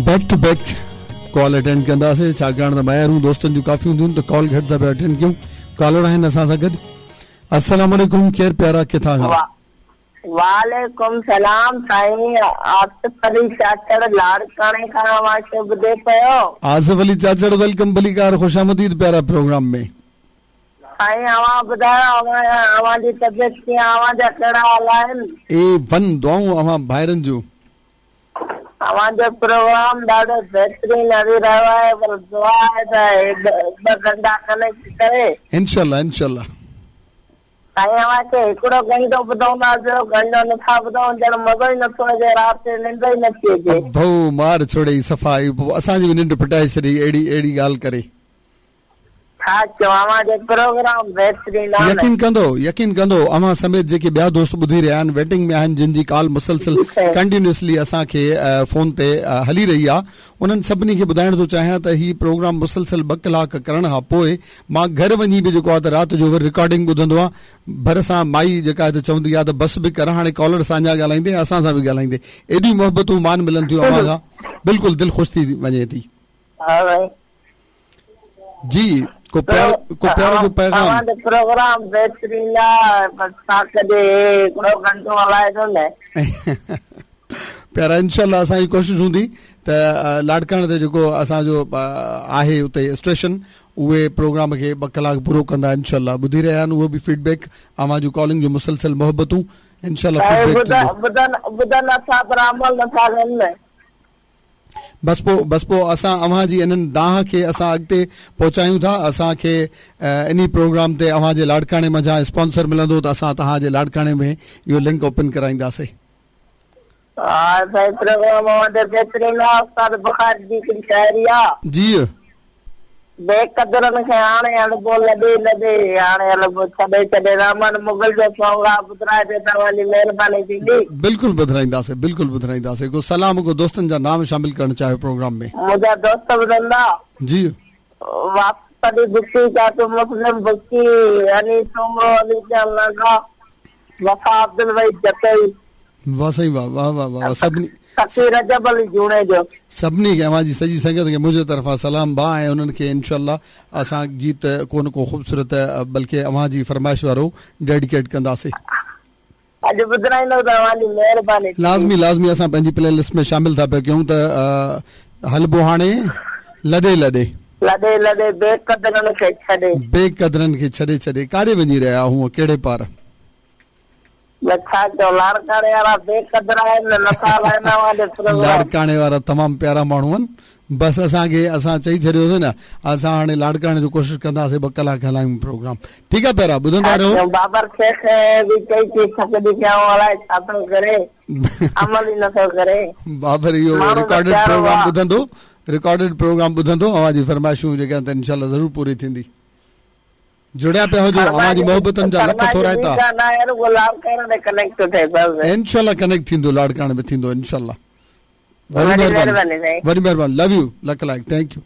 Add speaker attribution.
Speaker 1: Back to back call attend ڪنداسين ڇاڪاڻ ته ميارون دوستن جون ڪافي هونديون آهن ته ڪال گهٽ ٿا پيا اٽينڊ ڪيون ڪالر آهن اسان سان گڏ السلام عليڪم ڪير پيارا ڪٿان کان.
Speaker 2: وعليڪم سلام سائين آصف علي چاچڙ لاڙڪاڻي کان اوهان کي ٻڌي پيو.
Speaker 1: آصف علي چاچڙ welcome ڀليڪار خوش آمديد پيارا پروگرام ۾.
Speaker 2: سائين اوهان ٻڌايو اوهان اوهان جي طبيعت ڪيئن اوهان جا ڪهڙا حال آهن.
Speaker 1: اي ون دعائون اوهان ڀائرن جون.
Speaker 2: اوهان جو پروگرام ڏاڍو بهترين هلي رهيو آهي پر دعا آهي ته هي ٻه گهنٽا ڪنيڪٽ ڪري.
Speaker 1: انشاء الله انشاء الله.
Speaker 2: سائين اوهان کي هڪڙو گهنٽو ٻڌوندا ٻيو گهنٽو نٿا ٻڌون ڄڻ مزو ئي نٿو اچي رات جو ننڊ ئي نٿي اچي.
Speaker 1: ڀئو مار ڇوڙئي صفا اسان جي به ننڊ ڦٽائي ڇڏيئي اهڙي اهڙي ڳالهه ڪري.
Speaker 2: ڇا چوان اوهان جو پروگرام بهترين آ نه.
Speaker 1: يقين ڪندو يقين ڪندو اوهان سميت جيڪي ٻيا دوست ٻڌي رهيا آهن ويٽنگ ۾ آهن جن جي ڪال مسلسل ڪنٽينيوسلي اسان کي فون تي هلي رهي آ انهن سڀني کي ٻڌائڻ ٿو چاهيان ته هي پروگرام مسلسل ٻه ڪلاڪ ڪرڻ کان پوء مان گهر وڃي به جيڪو آ ته رات جو وري رڪارڊنگ ٻڌندو آهيان ڀر سان مائي جيڪا آهي ته چوندي آ ته بس به ڪر هاڻي ڪالر سان اڃا ڳالهائيندين اسان سان به ڳالهائيندين ايڏيون محبتون مان ملن ٿيون اوهان کان بلڪل دل خوش ٿي وڃي ٿي.
Speaker 2: ها سائين.
Speaker 1: جي ڪو پيار ڪو پيار جو پيغام.
Speaker 2: اوهان جو پروگرام بهترين آ بس ڇا ڪجي هي هڪڙو گهنٽو هلائي ٿو نه.
Speaker 1: پيارا انشاء الله اسان جي ڪوشش هوندي ته لاڙڪاڻي تي جيڪو اسان جو آهي اتي اسٽيشن اهي پروگرام کي ٻه ڪلاڪ پورو ڪندا انشاء الله ٻڌي رهيا آهن اهو به فيڊ بيڪ اوهان جون ڪالنگ جو مسلسل محبتون انشاء الله فيڊ بيڪ ٿيندو.
Speaker 2: ٻڌن ٻڌن نٿا پر عمل نٿا ڪن نه.
Speaker 1: بس پوء بس پوء اسان اوهان جي انهن دانهن کي اسان اڳتي پهچايون ٿا اسان کي انهي پروگرام تي اوهان جي لاڙڪاڻي منجهان اسپانسر ملندو ته اسان توهان جي لاڙڪاڻي ۾ اهو لنڪ اوپن ڪرائينداسي.
Speaker 2: ها سائين پروگرام اوهان جو بهترين آ استاد بخاري جي هڪڙي شاعري آ.
Speaker 1: جي.
Speaker 2: بي قدرن کي هاڻي هلبو لڏي لڏي هاڻي هلبو ڇڏي ڇڏي رحمان مغل جو سونگ آ ٻڌرائجو ته اوهان جي مهرباني ٿيندي.
Speaker 1: بلڪل ٻڌرائينداسي بلڪل ٻڌرائينداسي ڪو سلام ڪو دوستن جا نام شامل ڪرڻ چاهيو پروگرام ۾.
Speaker 2: منهنجا دوست ٻڌندا.
Speaker 1: جي.
Speaker 2: واصف علي بگٽي چاچو مسلم بگٽي علي سومرو علي جان لانگاهه وفا عبدالوحيد جتوئي.
Speaker 1: واه سائين واه واه واه واه سڀني.
Speaker 2: سخي رجب علي جوڻيجو.
Speaker 1: سڀني کي اوهان جي سڄي سنگت کي منهنجي طرفان سلام ڀاء ۽ انهن کي انشاء الله اسان گيت ڪو نه ڪو خوبصورت بلڪه اوهان جي فرمائش وارو ڊيڊيڪيٽ ڪنداسي.
Speaker 2: اڄ ٻڌرائيندو ته اوهان جي مهرباني ٿيندي.
Speaker 1: لازمي لازمي اسان پنهنجي پلي لسٽ ۾ شامل ٿا پيا ڪيون ته هلبو هاڻي لڏي لڏي.
Speaker 2: لڏي لڏي بي قدرن کي ڇڏي.
Speaker 1: بي قدرن کي ڇڏي ڇڏي ڪاڏي وڃي رهيا هونء ڪهڙي پار.
Speaker 2: نه ڇا چئون لاڙڪاڻي وارا بي قدر آهن نه نٿا هلائين اوهان جو پروگرام.
Speaker 1: لاڙڪاڻي وارا تمام پيارا ماڻهو آهن بس اسان کي اسان چئي ڇڏيوسي نه اسان هاڻي لاڙڪاڻي جو ڪوشش ڪنداسي ٻه ڪلاڪ هلايون پروگرام ٺيڪ آهي پيارا ٻڌندا
Speaker 2: ڇا
Speaker 1: رهو.
Speaker 2: چئون بابر شيخ به چئي چئي ٿڪجي پيا آهيون الائي ڇا ٿو ڪري عمل ئي نٿو ڪري.
Speaker 1: بابر اهو
Speaker 2: ماڻهو ته
Speaker 1: رڪارڊيڊ
Speaker 2: پيارو
Speaker 1: پروگرام
Speaker 2: آ.
Speaker 1: ٻڌندو رڪارڊيڊ پروگرام ٻڌندو اوهان جي فرمائشون جيڪي آهن ته انشاء الله ضرور پوري ٿيندي. جڙيا پيا هجو اوهان جي محبتن جا لک ٿورائتا. انشاء الله ڪنيڪٽ ٿيندو لاڙڪاڻي ۾ ٿيندو انشاء الله وڏي مهرباني وڏي مهرباني لو يو لک لائق thank you.